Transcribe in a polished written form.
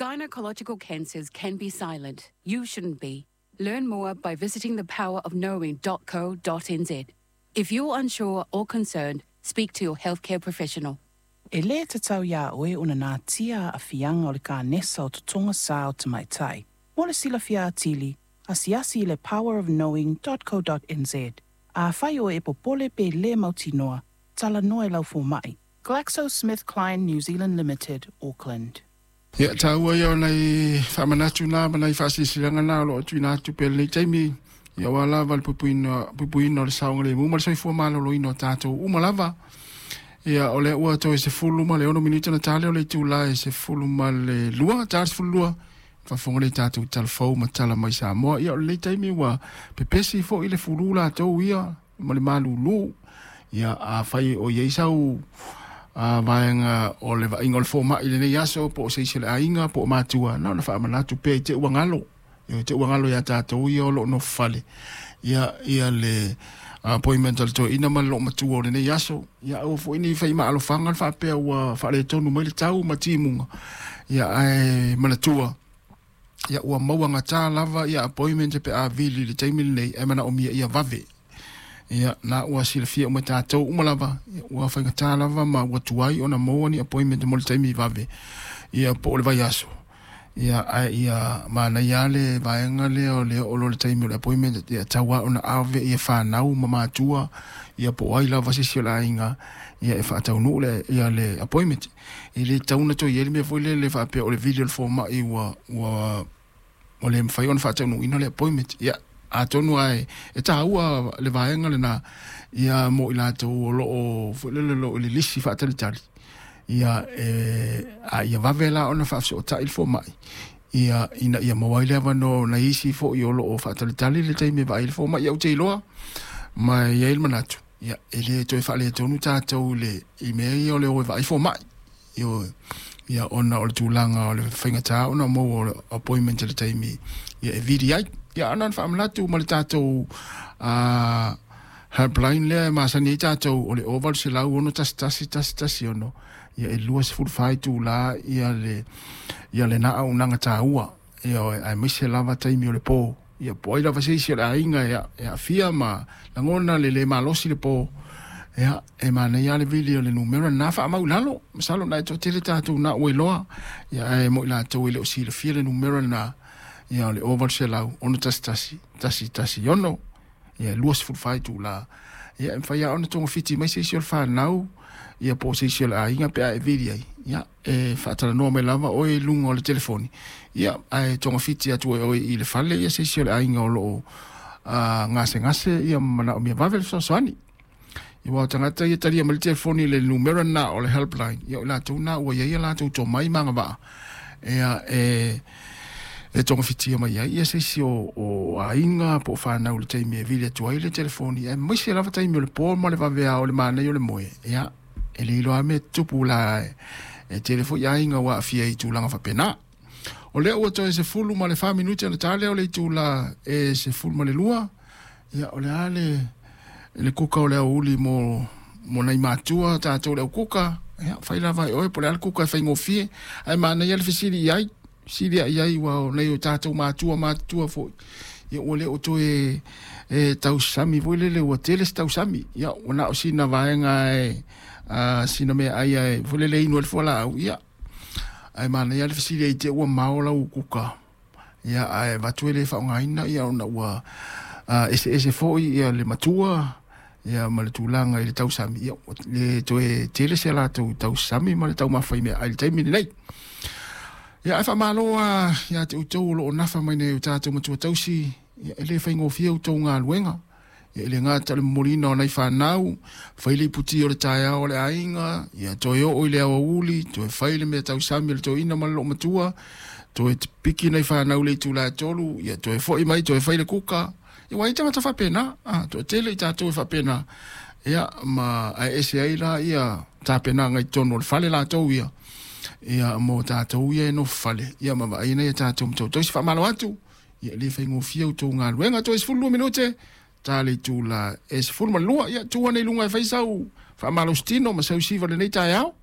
Gynecological cancers can be silent. You shouldn't be. Learn more by visiting thepowerofknowing.co.nz. If you're unsure or concerned, speak to your healthcare professional. E lē tatau iā oe ona natia aafiaga o le kanesa o totoga sā o tamaitai. Mo le silafia atili, asiasi i le powerofknowing.co.nz. Afai oe e popole pe lē mautinoa, talanoa i lau fomaʻi. GlaxoSmithKline New Zealand Limited, Auckland. Ia, taua ia o nai faamanatu na ma nai faasilasilaga na o lo o tuuina atu pea i lenei taimi, ia aua lava le puipuina, puipuina o le saogalemu ma le soifua maloloina o tatou uma lava. Ia, o lea ua toe 16 minute ona ta lea o le itula e 12, ta le 12, faafofoga lea i tatou tala fou ma tala mai Samoa. Ia, o lenei taimi ua pepesi foi le fulu latou ia ma le malulu. Ia, afai o i ai sau vaega o le vaaiga o le fomai i lenei aso, po o se isi o le aiga, po o matua, na ona faamanatu pea i te ua galo. Ia, te ua galo iā tatou ia o lo o nofo fale. Ia, ia le appointment a le toeaina ma le loomatua o lenei aso. Ia, aua foi ne i fai maalofaga le faapea ua faaletonu mai le tau ma timuga. Ia, ae manatua, ia ua maua gata lava ia appointment pe a vili i le taimi lenei ae manaomia ia vave. Ia, na ua silafia uma e tatou uma lava, ia, ua faigata lava ma ua tuai ona maua ni appointment mo le taimi vave, ia po o le vaiaso. Ia, ae ia manaia lava le vaega lea o le oo loa i le taimi o le appointment, ia tatau lava ona ave ia fanau ma matua, ia po o ai lava se isi o le aiga, ia e faataunuu le, ia le appointment. E le tatau ona toe i ai le mea foi lele faapea o le vili o le fomai ua, ua, ua le mafai ona faataunuuina le appointment. Ia, atonu lava e taua le vaega lena, ia mo i latou o lo o, foi lele, o lo o i le lisi faatalitali, ia e, a ia vave la ona faafesootai le fomai, ia, ina ia maua ai le avanoa o nai isi foi o lo o faatalitali le taimi e vaai ai le fomai. Ia, ou te iloa, ma e i ai le manatu, ia, e le toe faaletonu tatou i le, i mea ia o le o e vaai fomai. Ioe. Ia, ona o le tulaga o le faigata ona maua o le appointment i le taimi ia e vili ai. Ia, ana ona faamanatu ma le tatou helpline lea e masani ai tatou o le 0800 611 116, ia e 24 itula ia le ia lena auaunaga taua. Ioe, aemaise lava taimi o le po. Ia po o ai lava se isi o le aiga e aafia ma lagona le le malosi le po, ia, e manaia lava le vili o le numera lena faamau i lalo. Masalo na e toatele tatou na ua iloa, ia ae mo i latou e le o silafia le numera lena, ia o le 0800 611 116, ia e 24 itula. Ia e mafai lava ona togafiti mai se isi o le fanau, ia po o se isi o le aiga pe a e vili ai, ia e faatalanoa mai lava oe i luga o le telefoni, ia ae togafiti atu e oe i le fale ia se isi o le aiga o lo o gasegase ia ma manaomia vave le fesoasoani. Ia aua o tagata ia talia mai le telefoni i le numera lena o le helpline, ia o i latou na ua i ai a latou tomai ma agavaa ia e togafitia mai ai ia se isi o aiga po o fanau i le taimi e vili atu ai le telefoni, aemaise lava taimi o le po ma le vaveao o le manaia o le moe, ia e le iloa lava mea e tutupu la e tele foi aiga ua aafia i tulaga faapena. O lea ua toe 14 minute ona ta lea o le itula e 12, ia o le a le kuka o le aoauli mo nai matua tatou le au kuka, ia fai lava e oe po o le a le kuka e faigofie, ae manaia le fesili i ai, fesili i ai aua o nai o tatou matua matutua foi, ia ua le o toe e tausami foi lele ua tele se tausami, ia ua na o sina vaega e sina meaai e foi lele inu ai le fualaau, ia ae manaia le fesili ai te ua mao lau kuka, ia ae avatu e le faaaogaina, ia ona ua eseese foi ia le matua ia ma le tulaga i le tausami, ia ua le toe tele se latou tausami ma le taumafa i meaai i le taimi lenei. Ia ae faamalo lava ia te outou o lo o nafa mai nei o tatou matua tausi, ia e le faigofie outou galuega. Ia e le gata o le momoliina o nai fanau, fai le iputi o le taeao o le aiga, ia toe oo i le aoauli, toe fai le mea tausami o le toeaina ma le loomatua, toe piki nai fanau i le itula e 3, ia toe foi mai toe fai le kuka. Ia ua i ai tagata faapena, toatele i tatou e faapena, ia ma ae ese ai la ia tapenaga i totonu o le fale latou ia, ia mo tatou ia e nofo fale, ia ma vaai nai a tatou matua tausi. Faamalo atu, ia e le faigofie outou galuega. Toe 12 minute ta le itula e 12, ia tu ane i luga e fai sau faamalositino ma sau siva i lenei taeao.